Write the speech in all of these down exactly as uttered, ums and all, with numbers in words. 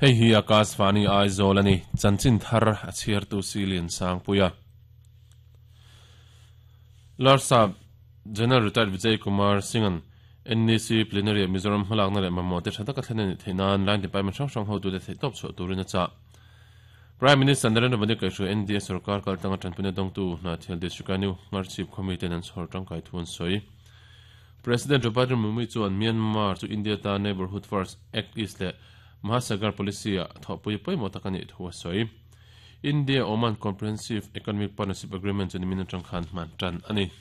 Hei hi Akashvani Aizawl ani chanchin thar a chhiar tu silin sangpuia Larsap General Retired Vijay Kumar Singhan N E C Plenary Mizoram hmalak na leh mamawh te tha taka thlen ani theinan line department hrang hrang ho tu te thei tawp chhuah turin a chah. Prime Minister Narendra Modi kaihhruai N D A sarkar kaltanga tanpui dawngtu Hnahthial District a new Ngarchhip khawmi ten an chhawr tangkai thu an sawi. President Draupadi Murmu chuan Myanmar chu India ta Neighborhood First Act East leh Mahasagar Policy a thawhpui pawimawh tak ani thu a sawi. India Oman Comprehensive Economic Partnership Agreement chu nimin atang khan hman tan ani.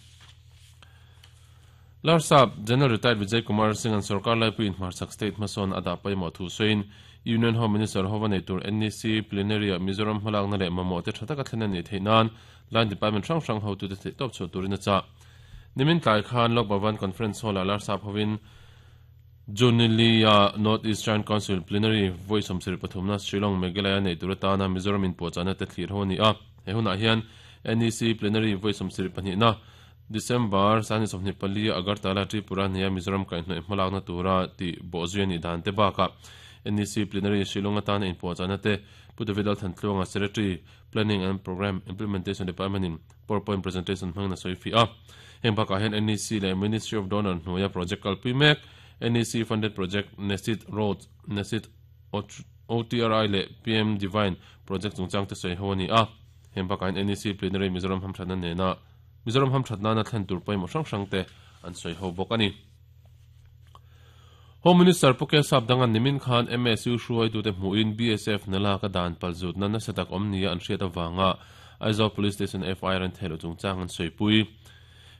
Larsap General Retired Vijay Kumar Singh an sarkar laipui in hmarchhak state hmasawn a dah pawimawh thu sawiin Union Home Minister hova nei tur N E C Plenary a Mizoram hmalak na leh mamawh te tha taka thlen ani theinan line department hrang hrang ho tu te thei tawp chhuah turin a chah. Nimin tlai khan Lok Bhavan Conference Hall a Larsap hovin Junilia North Eastern Council Plenary Voice om sir pathumna Shillong Meghalaya nei tur atana Mizoram in puahchahna te thlir ho ani a. He hunah hian N E C Plenary Voice om sir pahnihna December sani sawmhnih pali Agartala Tripura nia Mizoram kaihhnawih hmalakna tura ti bawhzui ani dan te bakah N E C Plenary Shillong atana in puahchahna te Pu David Lalthantluanga Secretary Planning and Program Implementation Department in PowerPoint presentation hmangin a sawi fi a. Heng bakah hian N E C leh Ministry of Donor hnuaia project kalpui mek N E C funded project Nesit Roads, Nesit O T R I leh P M Divine project chungchang te sawi ho ani a. Heng bakah hian N E C Plenary Mizoram hamthatna nena Mizoram hamthatna na thlen tur pawimawh hrang hrang te an sawi ho bawk ani. Home Minister Pu Sap dangan nimin khan M S U hruai tu te hmuin B S F nala ka dan palzut na nasa tak awm nia an hriat awanga Aizawl Police Station F I R an thelo chungchang an sawi pui.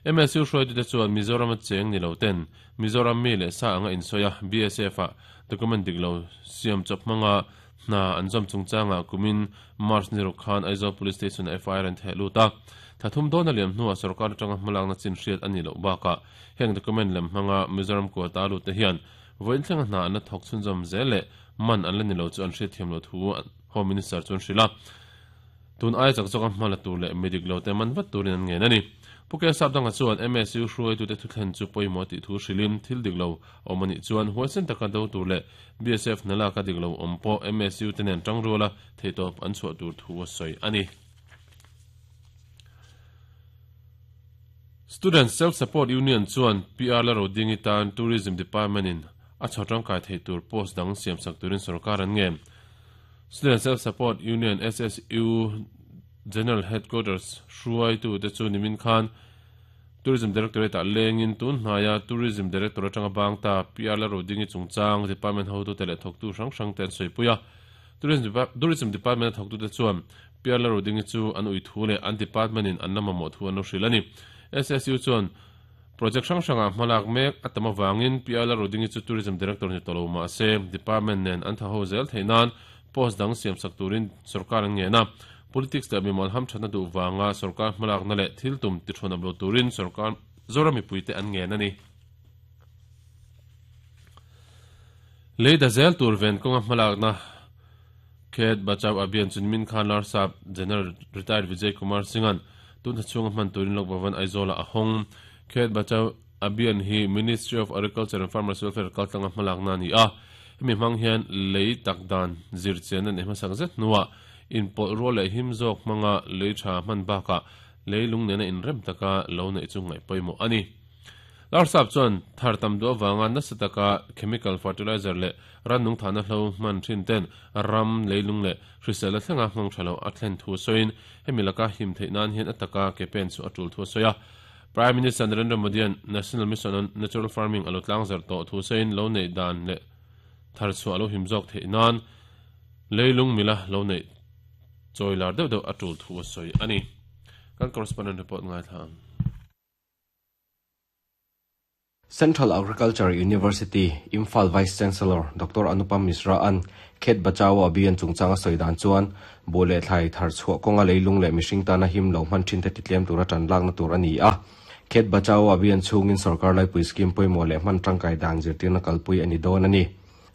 M S U hruai tu te chuan Mizoram a cheng ni lo ten Mizoram mi leh sa anga insawi a B S F a document dik lo siam chawp hmanga hna an zawm chungchanga kumin March ni ruk khan Aizawl Police Station F I R an theh lut a. Thathum dawn a liam hnuah sarkar atanga hmalakna chin hriat ani loh bakah heng document lem hmanga Mizoram kuata lut te hian voin thlenga hna an la thawk chhunzawm zel leh man an la ni lo chu an hriat thiam lo thu Home Minister chuan hrila. Tun ai chak zawka hmala tur leh midik lo te man vat turin an ngen ani. Pu Sap danga chuan M S U hruai tu te thu thlen chu pawimawh tih thu hrilin thil dik lo awm ani chuan huaisen taka do tur leh B S F nala ka dik lo awm pawh M S U te nen tang ruala theitawp an chhuah tur thu a sawi ani. Student Self-Support Union chuan P R la rodingi tan Tourism Department in a chhawtang kai thei tur post dang siam sak turin sarkar an nge. Student Self-Support Union S S U General Headquarters hruai tu te chu nimin khan Tourism Directorate a lengin tun hnaya Tourism Director atanga bang ta P R la rodingi chungchang Department ho tu te leh thawk tu hrang hrang te an sawi puia. Tourism Tourism Department thawk tu te chuan P R la rodingi chu an ui thu leh an department in an la mamawh thu an lo hril ani. S S U chuan project hrang hranga hmalak mek atama wangin P R la rodingi chu Tourism Director ni tolo ma se department nen an tha ho zel theinan post dang siam sak turin sarkar an nge na. Politics le mimal ham thana du wanga sarkar hmalak na leh thil tum ti thon amlo turin sarkar zorami puite an nge na ni. Leida zel tur ven konga hmalak na Khet Bachao Abhiyan chunmin khan Larsap General Retired Vijay Kumar Singhan tun chunga hman turin Lok Bhavan Aizawl a hong. Khet Bachao Abhiyan hi Ministry of Agriculture and Farmers Welfare kaltlanga hmalak na ni a. Hemi hmang hian lei takdan zir chen an hmasak zet nuwa in pawlh rual leh him zawk hmanga lei tha hman bakah lei lung nena in rem taka lo nei chu ngaih pawimawh ani. Larsap chuan thar tam du awanga nasa taka chemical fertilizer leh rannung thana hlo hman thin ten ram leilung leh hrisel a thlenga hmang tha lo a thlen thu sawiin hemi laka him theih nan hian ataka ke pen chu a tul thu sawi a. Prime Minister Narendra Modi an National Mission on Natural Farming alo tlang zar tawh thu sawiin lo nei dan leh thar chu alo him zawk theih nan leilung mila lo nei chawilar deuh deuh a tul thu sawi ani. Kan correspondent report ngai thlang. Central Agriculture University Imphal Vice Chancellor Doctor Anupam Mishra an Khet Bachao Abhiyan chungchanga sawidan chuan bole thlai thar chhuah kawnga leilung leh mihring tana him lo hman thin te titlem tura tan lakna tur ani a. Khet Bachao Abhiyan chungin sarkar laipui scheme pawimawh leh hman tangkai dan zirtirna kalpui ani dawn ani.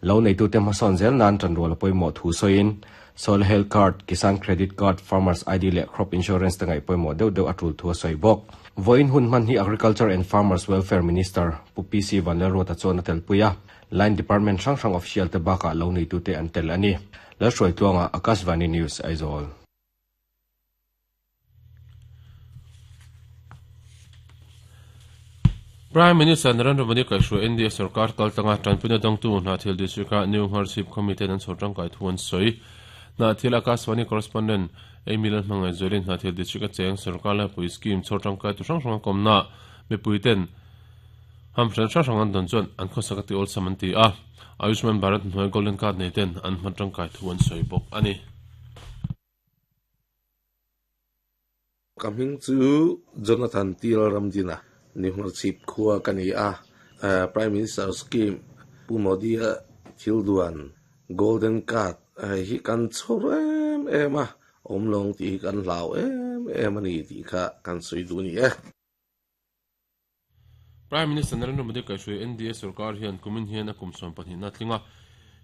Lo nei tu te hmasawn zel nan tan rual pawimawh thu sawiin Soil Health Card, Kisan Credit Card, Farmers I D leh Crop Insurance te ngaih pawimawh deuh deuh a tul thu a sawi bawk. Voin hun hman hi Agriculture and Farmers Welfare Minister Pu P C Vanlalruata chuan a telpui a. Line Department hrang hrang official te baka lo nei tu te an tel ani. La hruai tluanga Akashvani News Aizawl. Prime Minister Narendra Modi kai hruai N D A sarkar kaltanga tanpuna dangtu na thil district a New Harship Committee an chhotang kai thuan soi na thil Akashvani correspondent Emilan mangai zolin na thil district a cheng sarkar la pui scheme chhotang kai tu hrang hrang komna me puiten ham hran hrang hrang an don chuan an khawsakati ol samanti a Ayushman Bharat hnuai golden card nei ten an hmatang kai thuan soi bawk ani. Kaming chu Jonathan Til Ramdina ni hmarchip khua kani a Prime Minister scheme Pu Modi thil duan golden card hi kan chhor em em a omlong ti kan hlau em em ani ti kha kan sui du ni e. Prime Minister Narendra Modi kai hruai N D A sarkar hian kumin hian a kum sawm pahnih na tlinga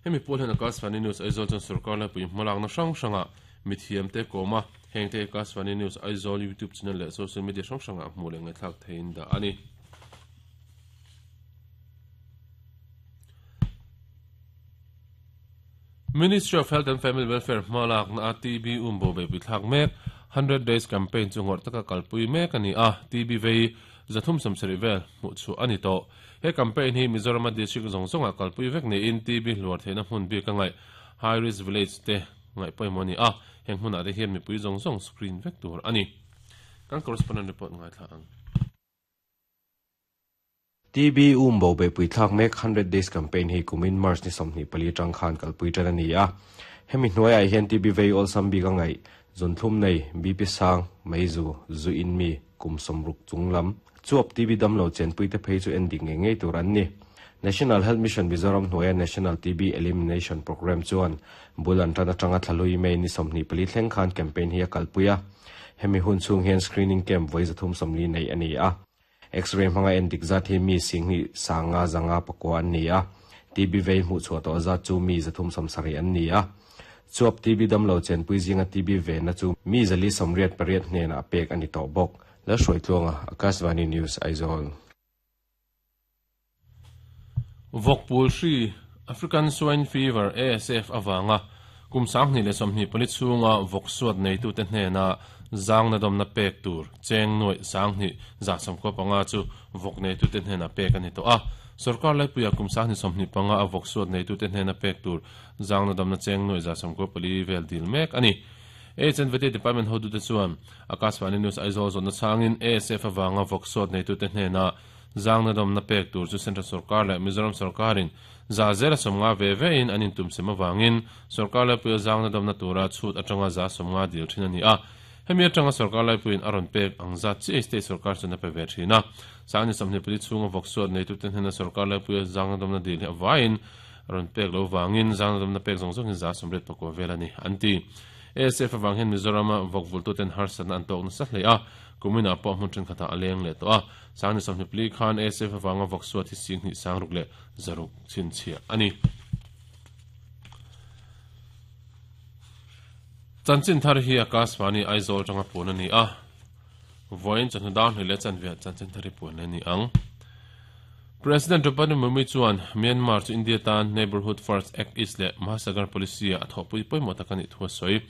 hemi pawl hian Akashvani News Aizawl chuan sarkar la pui hmalak na hrang hranga mithiam te kawma heng te Akashvani News Aizawl YouTube channel leh social media hrang hranga hmuh leh ngaihthlak theiin dah ani. Ministry of Health and Family Welfare hmalak na T B umbo be pithlak mek hundred days campaign chu ngor taka kalpui mek ani a T B vei zathum samsari vel mu chu ani to he campaign hi Mizoram district zong zonga kalpui vek ni in T B hluar theina hmun bi ka ngai high risk village te ngai poimoni a heng hmun a te hian mipui zong zong screen vek tur ani. Kan correspondent report ngai thla ang. T B umbo be pui thlak mek hundred days campaign hi kumin March ni sawmhnih pali tang khan kalpui tan ani a hemi hnuai ah hian T B vei ol sam bi ka ngai zun thlum nei B P sang meizu zu in mi kum somruk chunglam chuap T B damlo chen pui te phei chu ending nge ngei tur an ni. National Health Mission Mizoram hnuaia National T B Elimination Program chuan bulan tan atanga thlalui mai ni sawmhnih pali thleng khan campaign hi a kalpuia hemi hun chung hian screening camp voi zathum sawmli nei ani a X-ray hmanga endik zat hi mi singhi sanga zanga pakwa an ni a T B vei hmuh chhuah tawh zat chu mi zathum sawmsarih an ni a chuap T B damlo chen pui zinga T B ve na chu mi zali sawmriat pariat hnenah pek ani tawh bawk. La hruai tluanga Akashvani News Aizawl. Vokpul hri African Swine Fever A S F awanga kum sanghni le sawmhnih pali chhunga vok suat nei tu te hnena zang na dom na pek tur cheng noi sanghni za samko panga chu vok nei tu te hnena pek ani to a sarkar lai puya kum sanghni sawmhnih panga a vok suat nei tu te hnena pek tur zang na dom na cheng noi za samko pali vel dil mek ani. H and V T Department hodu te chuan Akashvani News Aizawl zawhna changin A S F awanga vok suat nei tu te hnena zang na dom na pek tur chu Central Sarkar leh Mizoram Sarkarin za zela sawmnga ve ve in an intum sem awangin sarkar lai puia zang na dom na tura chhut atanga za sawmnga dil thin ani a hemi atanga sarkar lai puiin a rawn pek ang zat chi state sarkar chu na pe ve thin a sangni sawmhnih pali chhunga vok suat nei tu te hnena sarkar lai puia zang na dom na dil hi awain rawn pek lo wangin zang na dom na pek zawng zawng in za sawmriat pakua vel ani anti. A S F awang hian Mizorama vok vultu ten harsatna an tawk nasa hle a kumina pawh hmun thenkhatah a leng leh tawh a sangni sawmhnih pali khan A S F awanga vok suat hi singhnih sangruk leh zaruk chhinchhiah ani. Chanchin thar hi Akashvani Aizawl tanga puan ani a vawiin chawhnu dar hnih leh chanve chanchin thar hi puan ani ang. President Draupadi Murmu chuan Myanmar chu India tan Neighborhood First Act East leh Mahasagar Policy a thawhpui pawimawh tak ani thu a sawi.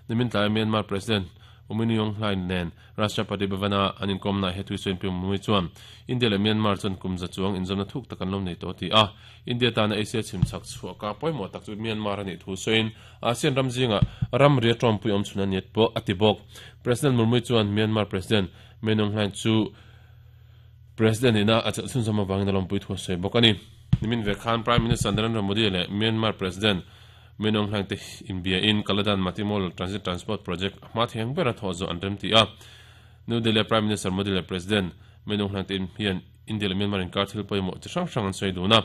Nimin tlai Myanmar President U Min Aung Hlaing nen Rashtrapati Bhavana an inkawmna he thui sawiin pi Murmu chuan India leh Myanmar chuan kum za chuang inzawmna thuk tak an lo nei tawh ti a India tana Asia chhimchhak chhuah pawimawh tak chu Myanmar ani thu sawiin ASEAN ram zinga ram ria tawmpui awm chhun aniat pawh a ti bawk. President Murmu chuan Myanmar President Min Aung Hlaing chu President ina a chhun zama wangin lompui thu sawi bawk ani. Nimin ve khan Prime Minister Narendra Modi leh Myanmar President Min Aung Hlaing te inbia in Kaladan Matimol Transit Transport Project hma theng ber a thaw zo an rem ti a New Delhi Prime Minister Modi leh President Min Aung Hlaing te hian India leh Myanmar inkar thil pawimawh chi hrang hrang an sawi dun a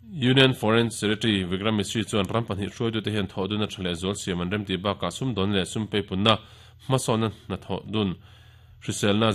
Union Foreign Secretary Vikram Misri chuan ram pahnih hruaitu te hian thaw dun a tha leh zual siam an rem ti bakah sum dawn leh sum peipunna hmasawnna hna thaw dun hriselna